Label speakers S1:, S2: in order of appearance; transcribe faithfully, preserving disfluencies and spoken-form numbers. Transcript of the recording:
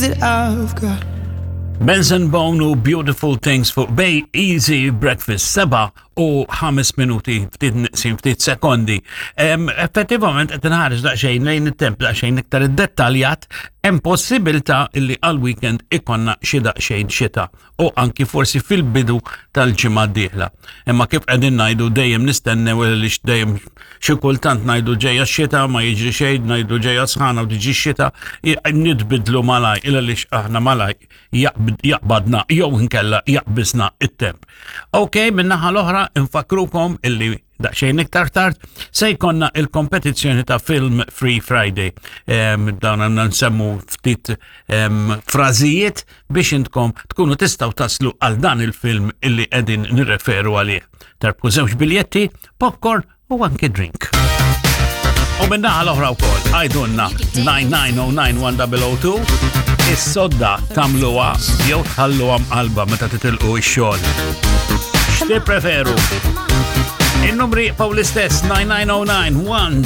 S1: that I've got.
S2: Benson Boone u Beautiful Things fuq Bay Easy Breakfast, seba u ħames minuti, ftit neqsin ftit sekondi. Em, Effettivament qed inħares daqsxejn lejn it-temp daqsxejn iktar iddettaljat, hemm possibilità illi għal weekend ikollna xi daqsxejn xita u anki forsi fil-bidu tal-ġimgħa d-dieħla. Imma kif qegħdin ngħidu, dejjem nistennew li dejjem xi kultant ngħidu ġejja x-xita, ma jiġri xejn, ngħidu ġejja sħana u tiġi x-xita, nitbidlu malaj illa li aħna malaj jaqbadna jew inkella jaqbisna it-temp. Ok, min-naħa l-oħra infakrukom illi daqsxejn iktar tard se jkollna il-kompetizzjoni ta' Film Free Friday. Em, Dawn għandna nsemmu ftit em, frażijiet biex intkom tkunu tistgħu taslu għal dan il-film illi qegħdin nirreferu għalih. Terbħu żewġ biljetti, popcorn u anke drink. U min-naħa l-oħra wkoll, għidulna nine nine zero nine one zero zero two, is-sodda tagħmluha jew tħalluha mqalba meta titilqu ix-xogħol? X'tippreferu? In-numri baqgħu l-istess, nine nine zero nine one.